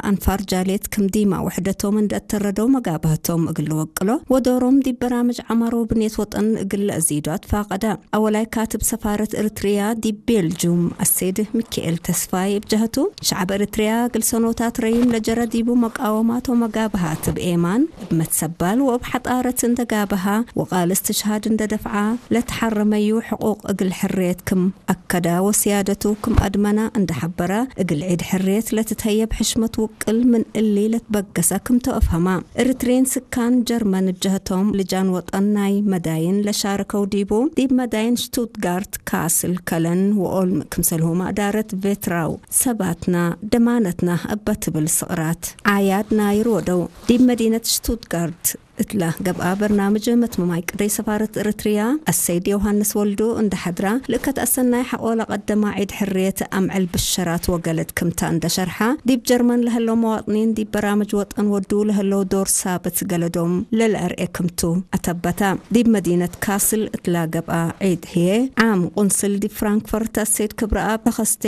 ኣንፋር ጃሌት ክም ዲማ ውሕደቶም እንደ እተረደው መጋባህቶም እግል ወቅሎ ወዶሮም ዲብ በራምጅ ዓማሮ ብኔት ወጠን እግል ለእዚዶ ኣትፋቀዳ። ኣወላይ ካትብ ሰፋረት እርትርያ ዲብ ቤልጁም ኣሴድ ሚካኤል ተስፋይ እብ ጀህቱ፣ ሸዓብ እርትርያ እግል ሰኖታት ረይም ለጀረ ዲቡ መቃወማቶ መጋባሃት እብ ኤማን፣ እብ መትሰባል ወእብ ሓጣረት እንደ ጋባሃ ወቃል እስትሽሃድ እንደ ደፍዓ፣ ለተሓረመዩ ሕቁቅ እግል ሕርየት ክም ኣከዳ ወስያደቱ ክም ኣድመና እንደ ሐበራ፣ እግል ዒድ ሕርየት ለትትሀየብ ሕሽመት ውቅል ምን እሊ ለትበገሰ ክምቶ እፍሀማ። እርትሬን ስካን ጀርመን እብ ጀህቶም ልጃን ወጠን ናይ መዳይን ለሻርከው ዲቡ፣ ዲብ መዳይን ሽቱትጋርት፣ ካስል፣ ከለን ወኦልም ክምሰልሁማ እዳረት ቬትራው ሰባትና ደማነትና እበ ትብል ስቅራት ዓያድ ናይር ወደው። ዲብ መዲነት ሽቱትጋርት እትላ ገብኣ በርናምጅ መትመማይ ቅደይ ሰፋረት እርትርያ ኣሰይድ ዮሃንስ ወልዱ እንደ ሐድራ፣ ልእከት ኣሰናይ ሐቆ ለቀደማ ዒድ ሕርየት ኣምዕል ብሸራት ወገለድ ክምታ እንደ ሸርሓ፣ ዲብ ጀርመን ለሀለው መዋጥኒን ዲብ በራምጅ ወጠን ወዱ ለሀለው ዶር ሳብት ገለዶም ለልአርኤ ክምቱ ኣተበታ። ዲብ መዲነት ካስል እትላ ገብኣ ዒድ ህዬ ዓም ቁንስል ዲብ ፍራንክፈርት ኣሰይድ ክብረኣብ ተኸስቴ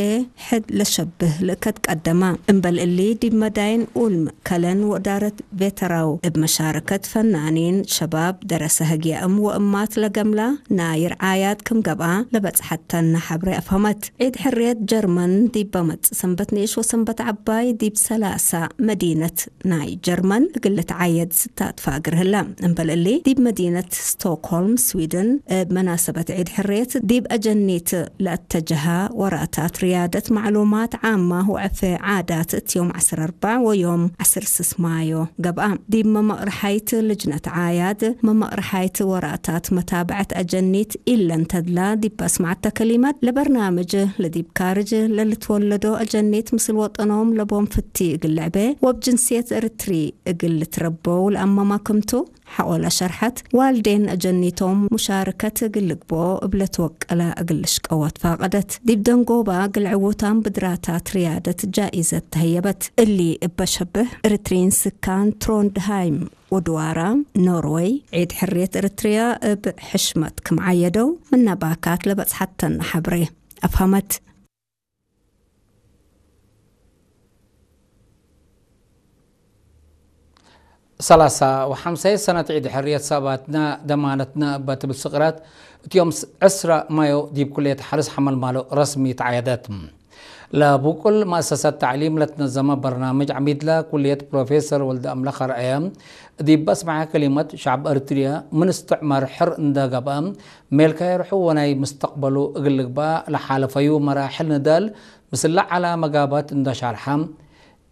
ሕድ ለሸብህ ልእከት ቀደማ። እምበል እሊ ዲብ መዳይን ኡልም ከለን ወእዳረት ቬተራው እብ መሻረከት ፈናኒን ሸባብ ደረሰ ህግያእም ወእማት ለገምላ ናይ ርዓያት ክም ገብኣ ለበጽሐተና ሐብሬ ኣፍሀመት። ዒድ ሕርየት ጀርመን ዲብ በመጽእ ሰንበት ንእሽ ወሰንበት ዓባይ ዲብ ሰላሳ መዲነት ናይ ጀርመን እግል ልትዓየድ ስታትፋ እግር ህላ። እምበል እሊ ዲብ መዲነት ስቶክሆልም ስዊድን እብ መናሰበት ዒድ ሕርየት ዲብ ኣጀኒት ለእተጀሃ ወራታት ርያደት ማዕሉማት ዓማ ወዐፌ ዓዳት እት ዮም ዐስር ኣርባዕ ወዮም ዐስር ስስ ማዮ ገብኣ። ዲብ መመቕርሓይት ልጅነት ዓያድ መመቕርሓይት ወራታት መታብዐት ኣጀኒት ኢለን ተድላ ዲብ ኣስማዕተ ከሊማት ለበርናምጅ ለዲብ ካርጅ ለልትወለዶ ኣጀኒት ምስል ወጠኖም ለቦም ፍቲ እግል ልዕቤ ወብ ጅንስየት እርትሪ እግል ልትረበው ለኣመማ ክምቱ ሐቆ ለሸርሐት ዋልዴን ኣጀኒቶም ሙሻርከት እግል ልግብኦ እብ ለትወቀላ እግል ልሽቀወት ፋቀደት። ዲብ ደንጎባ እግል ዕዉታም ብድራታት ርያደት ጃኢዘት ተህየበት። እሊ እበ ሸብህ እርትሪን ስካን ትሮንድሃይም ወድዋራ ኖርወይ ዒድ ሕርየት እርትርያ እብ ሕሽመት ክም ዓየደው ምነ ባካት ለበጽሐተና ሐብሬ ኣፍሀመት። ሰላሳ ወሐምሳይ ሰነት ዒድ ሕርየት ሰባትና ደማነትና እበ ትብል ስቅራት እት ዮም ስ-፣ ዕስራ ማዮ ዲብ ኩልየት ሐርስ ሐመልማሎ ረስሚ ተዓየደት። ለቡቁል መእሰሰት ተዕሊም ለትነዘመ በርናምጅ ዐሚድላ ኩልየት ፕሮፌሰር ወልደ ኣምላኽ ኣርአየ ዲብ ኣስመዐ ከሊመት፣ ሸዕብ እርትርያ ምን እስትዕማር ሕር እንደ ገብአ ሜልካ የርሑ ወናይ ምስተቅበሉ እግል ልግበእ ለሓለፈዩ መራሕል ንዳል ምስለ ዐላ መጋባት እንደ ሻርሐ፣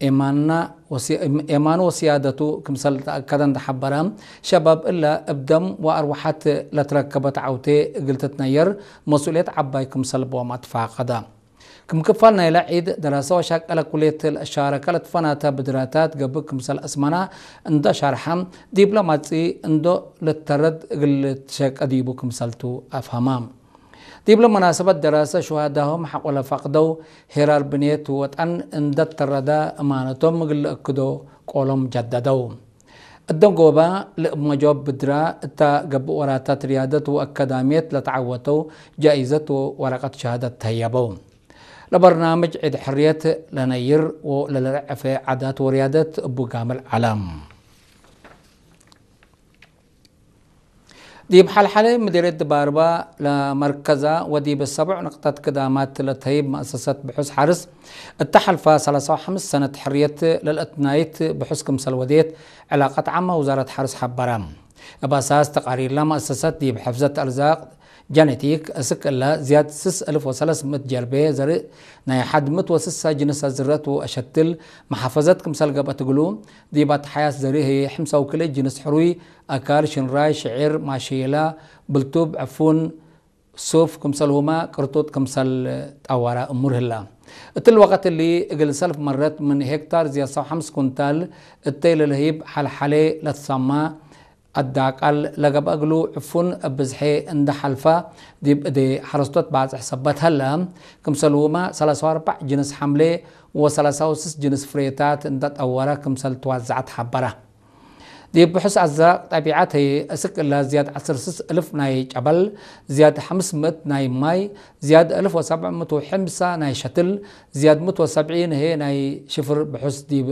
ኤማንና ወሲ-፣ ኤማኑ ወስያደቱ ክምሰል ተአከደ እንደ ሐበረ፣ ሸባብ እለ እብ ደም ወአርወሐት ለትረከበት ዐውቴ እግል ትትነየር መስኡልየት ዐባይ ክምሰል ቦም አትፋቀደ። ክም ክፋል ናይለ ዒድ፣ ደረሰ ወሻቀለ ኩልየት ለሻረከ ለትፈናተ ብድራታት ገብእ ክምሰል አስመና እንዶ ሻርሐ፣ ዲብለ ማጽኢ እንዶ ልተረድ እግል ልትሸቀ ዲቡ ክምሰልቱ አፍሀማ። ዲብለ መናሰበት ደረሰ ሹሃዳሆም ሐቆ ለፈቅደው ሄራር ብኔት ወጠን እንደ ተረዳ እማነቶም እግል ልእክዶ ቆሎም ጀደደው። እደንጎባ ለእብ መጆብ ብድራ እታ ገብእ ወራታት ርያደት ወአካዳምየት ለተዓወተው ጃኢዘት ወወረቀት ሸሃደት ተህየበው። ለበርናምጅ ዒድ ሕርየት ለነይር ወለልርዕፈ ዓዳት ወርያደት እቡ ጋምል ዐለም። ዲብ ሐልሐለ ምዲርየት ድባርባ ለመርከዛ ወዲብ ሰቡዕ ንቅጠት ክዳማት ለተህይብ መእሰሰት ብሑስ ሐርስ እተ ሐልፋ ሰላሳ ወሐምስ ሰነት ሕርየት ለልአትናይት ብሑስ ክምሰል ወዴት ዕላቀት ዓማ ውዛረት ሐርስ ሐበረ። እብ አሳስ ተቃሪርላ መእሰሰት ዲብ ሕፍዘት አርዛቅ ጀነቲክ እስክ እለ ዝያድ ስስ እልፍ ወሰለስ ምእት ጀርቤ ዘርእ ናይ ሐድ ምእት ወስሳ ጅንስ አዝረት ወአሸትል መሐፈዘት ክምሰል ገብአት እግሉ፣ ዲብ አትሓያስ ዘርእ ህዬ ሕምሳ ወክልኤ ጅንስ ሕሩይ፣ አካል፣ ሽንራይ፣ ሽዒር፣ ማሸየላ፣ ብልቱብ፣ ዕፉን፣ ሱፍ ክምሰልሁመ ቅርጡጥ ክምሰል ጠወረ እሙር ህላ። እትል ወቀት እሊ እግል ሰልፍ መረት ምን ሄክታር ዝያድ ሰው ሐምስ ኩንታል እተይ ለልህይብ ሐልሐሌ ለትሰማ አዳቃል ለገብአ እግሉ ዕፉን እብ ብዝሐ እንደ ሐልፋ ዲብ እዴ ሐረስቶት ባጽሕ ሰበት ሀለ። ክምሰልሁመ ሰላሳ ወአርባዕ ጅንስ ሐምሌ ወሰላሳ ወስስ ጅንስ ፍሬታት እንደ ጠወረ ክምሰል ትዋዘዐት ሐበረ። ዲብ ብሑስ ኣዛቕ ጠቢዓት እስክ እላ ዝያድ ዓሰርተ ሰለስተ እልፍ ናይ ጨበል፣ ዝያድ ሓምስ ምእት ናይ ማይ፣ ዝያድ እልፍ ወሰብዕ ምእት ወሐምሳ ናይ ሸትል፣ ዝያድ ምእት ወሰብዒ ንሄ ናይ ሽፍር ብሑስ ዲብ